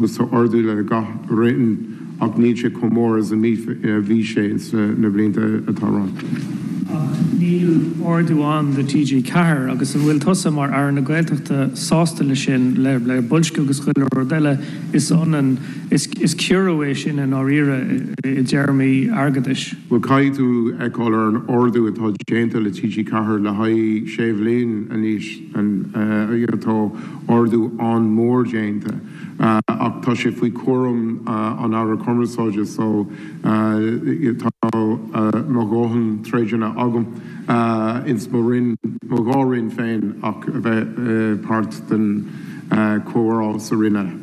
Agus tá ardú le gach roinn ach níl sé chomh mór is a bhí sé ins na blianta atá romhainn. Ach níl ardú ann do TG4 agus an bhfuil tusa mar Aire na Gaeltachta sásta le sin, le boilsciú agus chuile rud eile, is ionann, is ciorrú é sin i ndáiríre i dtéarmaí airgeadais? Bhuel caithfidh tú fheiceáil ar an ardú atá déanta le TG4 le haghaidh sé bhliain anois, tá ardú an-mhór déanta. Ach tá sé faoi chúram an Aire Cumarsáide so tá mo dhóthain troideanna agam ins mo roinn, mo dhá roinn féin ach a bheith páirt den chomhrá sa roinn eile.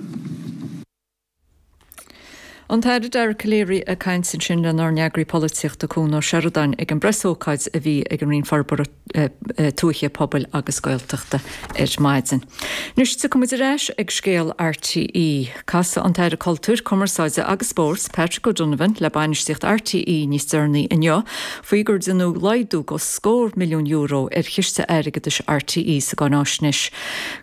An tAire Dara Calleary ag caint ansin lenár n-eagraí polaitíochta Cuan Ó Seireadáin ag an bpreasócáid a bhí ag an Roinn Forbartha Tuaithe, Pobail agus Gaeltachta ar maidin. Anois tiocfaidh muid ar ais ag scéal RTÉ. Casfaidh an tAire Cultúir, Cumarsáide agus Spóirt, Patrick O'Donovan le bainistíocht RTÉ níos deireanaí inniu faoi gur deineadh laghdú go scór milliún euro ar chiste airgeadais RTÉ sa gcáináisnéis.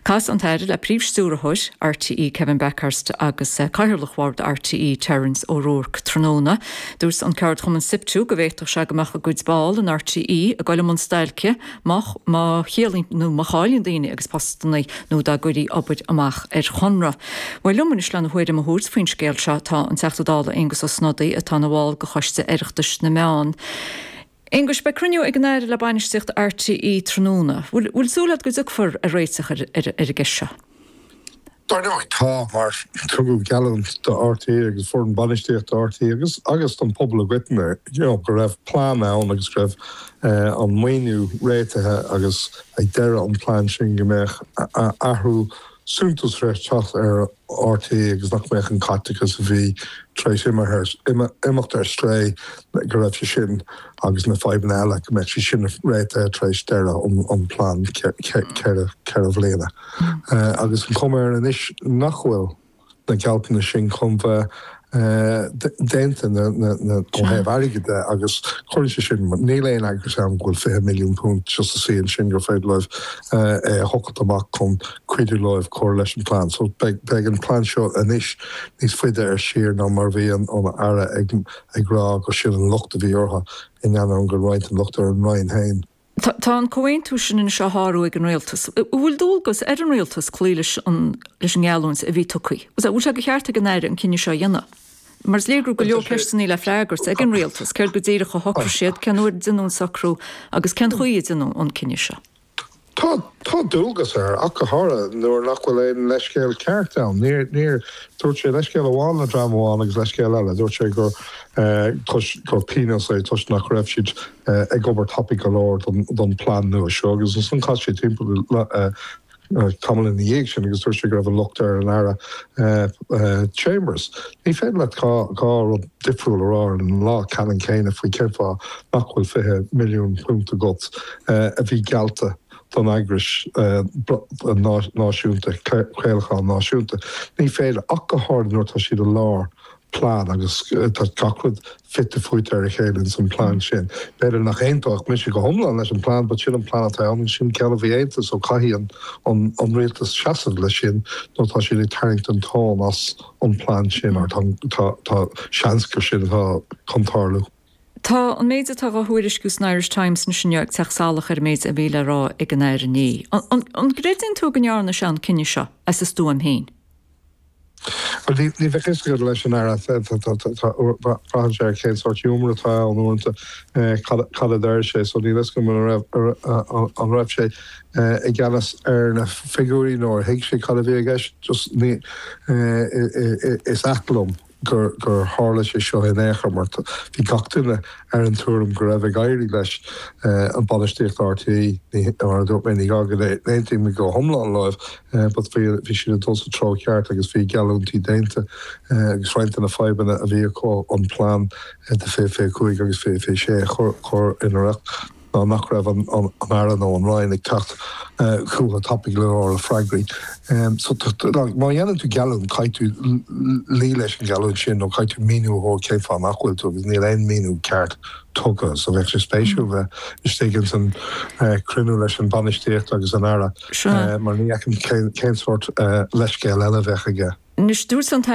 Casfaidh an tAire le Príomh-Stiúrthóir RTÉ Kevin Bakhurst agus Cathaoirleach Bhord RTÉ Terence O'Rourke tráthnóna. Dúirt an ceardchumann Siptu go bhféadfadh sé go mbeadh a gcuid ball in RTÉ ag dul i mbun stailce má má chiallaíonn nó má chailleann daoine a gcuid postanna nó dá gcuirí obair amach ar chonradh. Bhuel liom anois lena thuairim a thabhairt faoin scéal seo tá an Teachta Dála Aengus Ó Snodaigh atá ina bhall de Choiste Oireachtais na Meán. Aengus, beidh cruinniú ag an Aire le bainistíocht RTÉ tráthnóna. Bhfuil súil agat go dtiocfar ar réiteach ar an gceist seo? Dar ndóigh tá, mar tugadh geallúint do RTÉ agus foireann bainistíochta RTÉ agus agus don phobal i gcoitinne you know go raibh plean ann agus go raibh an maoiniú réitithe agus ag deireadh an plean sin go mbeadh athrú suntasach ag teacht ar RTÉ agus nach mbeadh an caiteachas a bhí tar éis imeacht ar strae go raibh sé sin agus na fadhbanna eile go mbeadh sé sin réitithe tar éis deireadh an plean cheithre bhliana. Agus an chuma air anois nach bhfuil na gealltanais sin chun bheith déanta ó thaobh airgid de agus cuireann sé sin, níl aon eagras ann go bhfuil £20 milliún just ina suí ansin gur féidir leo é a thochailt amach chun cuidiú leo cur leis an bplean. So beidh an plean seo anois níos faide ar siar ná mar a bhí an Aire ag rá gur sin an locht a bhí orthu in ainneoin go raibh roinnt den locht ar an Roinn féin. Tá an comhaontú sin anois á shárú ag an rialtas. An bhfuil dualgas ar an rialtas cloí leis an leis an ngeallúint a bhí tugtha? An bhfuil sé de cheart ag an Aire an cinneadh seo a dhéanamh? Mar is léir go raibh go leor ceisteanna le freagairt ag an rialtas, céard go díreach a shocraigh siad, cén uair a deineadh an socrú agus cén chaoi a deineadh an cinneadh seo? Tá, tá dualgas air, ach go háirithe nuair nach bhfuil aon leithscéal ceart ann. Níor, níor, dúirt sé leithscéal amháin le dream amháin agus leithscéal eile. Dúirt sé gur, toisc, gur pionós é toisc nach raibh siad ag obair tapaidh go leor don, don plean nua seo agus ansan chas sé timpeall tamall ina dhiaidh sin agus dúirt sé go raibh an locht ar an Aire Chambers. Ní féidir leat dhá rud difriúil a rá ar an lá ceannann céanna faoi cén fáth nach bhfuil £20 milliún agat a bhí geallta don eagrais náisiúnta, craolacháin náisiúnta. Ní féidir, ach go háirithe nuair atá siad i lár plean agus tá gach rud fite fuaite ar a chéile ins an plean sin. B'fhéidir nach aontódh mise go hiomlán leis an plean but sin an plean atá ann agus sin ceann a bhí aontaithe so caithfidh an an rialtas seasamh leis sin nó tá siad ag tarraingt an tóin as an plean sin or tá tá tá seans gur sin atá chun tarlú. Tá an méid atá á thuairisciú san Irish Times anois inniu ag teacht salach ar an méid a bhí le rá ag an Aire inné. An an gcreideann tú go ndearna sé an cinneadh seo as a stuaim féin? Bhuel, ní bheadh a fhios agat leis an Aire. Braitheann sé ar cén sórt giúmar atá ann uaireanta, cad a deir sé. So níl a fhios agam an raibh sé i gceannas ar na figiúirí nó ar thuig sé cad a bhí i gceist. Just ní, is ait liom gur tharla sé seo in aon chor mar bhí gach duine ar an tuairim go raibh ag éirí leis an bainistíocht RTÉ, mar a dúirt mé, ní gá go n-aontaím go hiomlán leo but bhí siad ag dul sa treo ceart agus bhí geallúintí déanta agus roinnt de na fadhbanna a bhí acu an plean do 2025 agus 2026 a chur ina riocht. ná nach raibh an Aire nó an Roinn ag teacht chucu tapaidh go leor le freagraí. So má dhéanann tú geallúint, caithfidh tú luí leis an gheallúint sin nó caithfidh tú míniú a thabhairt cén fáth nach bhfuil tú agus níl aon míniú ceart tugtha. So bheadh sé spéisiúil bheith istigh ins an cruinniú leis an bainistíocht agus an Aire mar ní fheicim cén sórt leithscéal eile a bheadh aige. Anois, dúirt an.